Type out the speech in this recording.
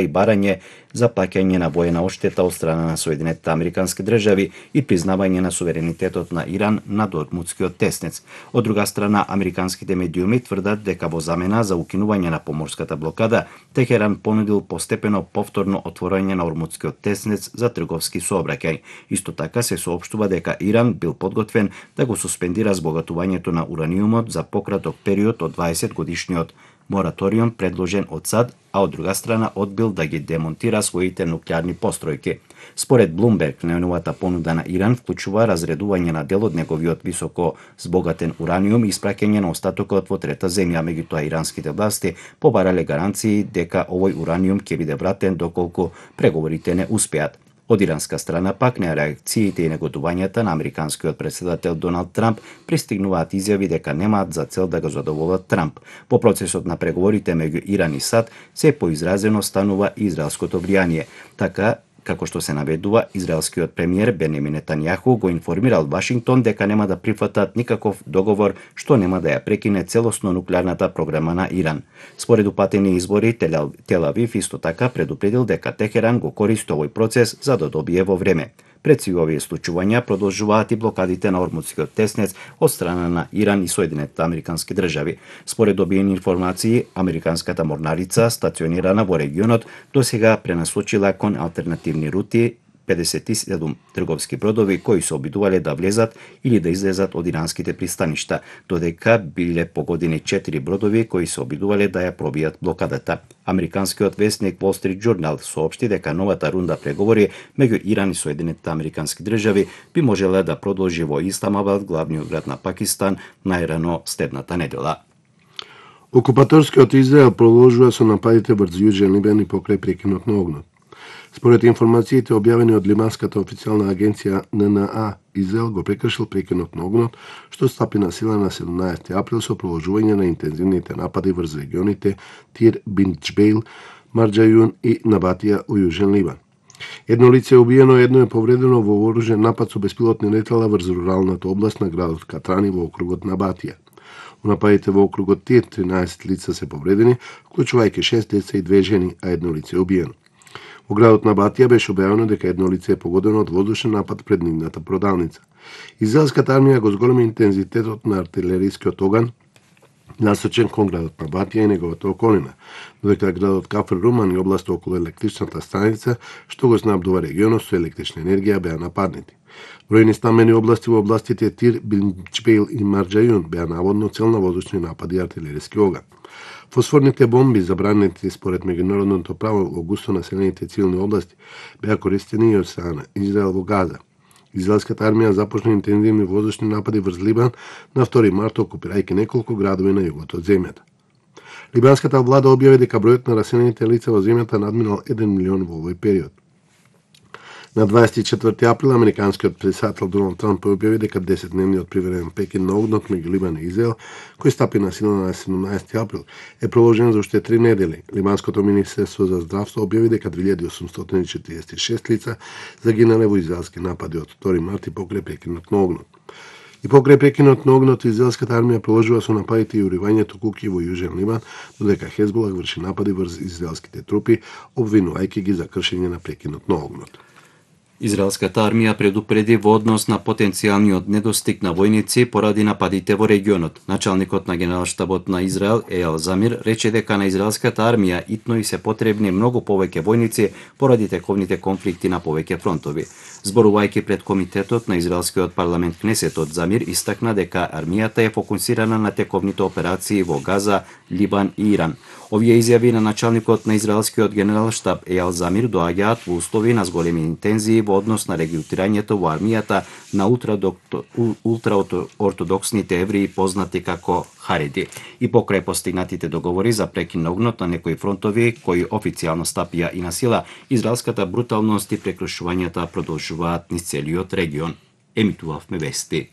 и барање за плаќање на воена оштета од страна на Соединетите Американски држави и признавање на суверенитетот на Иран над Ормутскиот теснец. Од друга страна, американските медиуми тврдат дека во замена за укинување на поморската блокада, Техеран понудил постепено повторно отворање на Ормутскиот теснец за трговски сообраќај. Исто така се соопштува дека Иран бил подготвен да го суспендира збогатувањето на ураниумот за пократок период од 20 годишниот мораториум предложен од САД, а од друга страна одбил да ги демонтира своите нуклеарни постројки. Според Блумберг, најновата понуда на Иран вклучува разредување на дел од неговиот високо збогатен ураниум и испраќање на остатокот во трета земја, меѓутоа иранските власти побарале гаранции дека овој ураниум ќе биде вратен доколку преговорите не успеат. Од иранска страна пак на реакциите и негодувањата на американскиот председател Доналд Трамп пристигнуваат изјави дека немаат за цел да го задоволат Трамп. Во процесот на преговорите меѓу Иран и САД се поизразено станува израелското влијание. Така, како што се наведува, израелскиот премиер Бенјамин Нетањаху го информирал Вашингтон дека нема да прифатат никаков договор што нема да ја прекине целосно нуклеарната програма на Иран. Според упатени избори, Тел Авив исто така предупредил дека Техеран го користи овој процес за да добие во време. Пред сви овие случувања продолжуваат и блокадите на Ормутскиот теснец од страна на Иран и Соединетите Американски држави. Според добиени информации, американската морнарица, стационирана во регионот, досега пренасочила кон алтернативни рути 57 трговски бродови кои се обидувале да влезат или да излезат од иранските пристаништа, додека биле погодени 4 бродови кои се обидувале да ја пробијат блокадата. Американскиот весник Wall Street Journal соопшти дека новата рунда преговори меѓу Иран и Соединетите Американски држави би можела да продолжи во Исламабад, главниот град на Пакистан, најрано следната недела. Окупаторскиот Израел продолжува со нападите врз Јужен Либан и покрај прекинот на огнот. Според информациите објавени од либанската официјална агенција ННА, Израел го прекршил прекинот на огнот, што стапи на сила на 17 април со продолжување на интензивните напади врз регионите Тир бин Џбејл, Марџајун и Набатија у Јужен Либан. Едно лице е убиено, едно е повредено во вооружен напад со беспилотни летала врз руралната област на градот Катрани во округот Набатија. У нападите во округот Тир 13 лица се повредени, вклучувајќи 6 деца и 2 жени, а едно лице е убиено. Во градот Набатија беше објавено дека едно лице е погодено од воздушен напад пред нивната продавница. Израелската армија го зголеми интензитетот на артилерискиот оган насочен кон градот Набатија и неговата околина, додека градот Кафр Руман и областа околу електричната станица, што го снабдува регионот со електрична енергија, беа нападнати. Бројни стамени области во областите Тир, Бин Џбејл и Марџајун беа наводно цел на воздушни напади и артилериски оган. Фосфорните бомби, забранети според меѓународното право во густо населените цивилни области, беа користени и од страна Израел во Газа. Израелската армија започна интензивни воздушни напади врз Либан на 2 март, окупирајќи неколку градови на југот од земјата. Либанската влада објави дека бројот на раселените лица во земјата надминал 1 милион во овој период. На 24 април американскиот председател Доналд Трамп објави дека 10-дневниот привреден прекин на огнот меѓу Либан и Израел, кој стапи на сила на 17 април, е продолжен за уште 3 недели. Либанското министерство за здравство објави дека 2846 лица загинале во израелски напади од 2 март и покрај прекинот на огнот. И покрај прекинот на огнот, израелската армија продолжува со нападите и уривањето куќи во Јужен Либан, додека Хезболах врши напади врз израелските трупи, обвинувајќи ги за кршење на прекинот на огнот. Израелската армија предупреди во однос на потенцијалниот недостиг на војници поради нападите во регионот. Началникот на генералштабот на Израел, Ејал Замир, рече дека на израелската армија итно и се потребни многу повеќе војници поради тековните конфликти на повеќе фронтови. Зборувајќи пред комитетот на израелскиот парламент Кнесетот, Замир истакна дека армијата е фокусирана на тековните операции во Газа, Либан и Иран. Овие изјави на началникот на израелскиот генералштаб Ејал Замир доаѓаат во услови на зголеми интензии во однос на регрутирањето во армијата на ултраортодоксните евреи познати како Хареди и покрај постигнатите договори за прекин на огнот на некои фронтови кои официјално стапија и на сила, израелската бруталност и прекршувањата продолжуваат низ целиот регион. Емитувавме вести.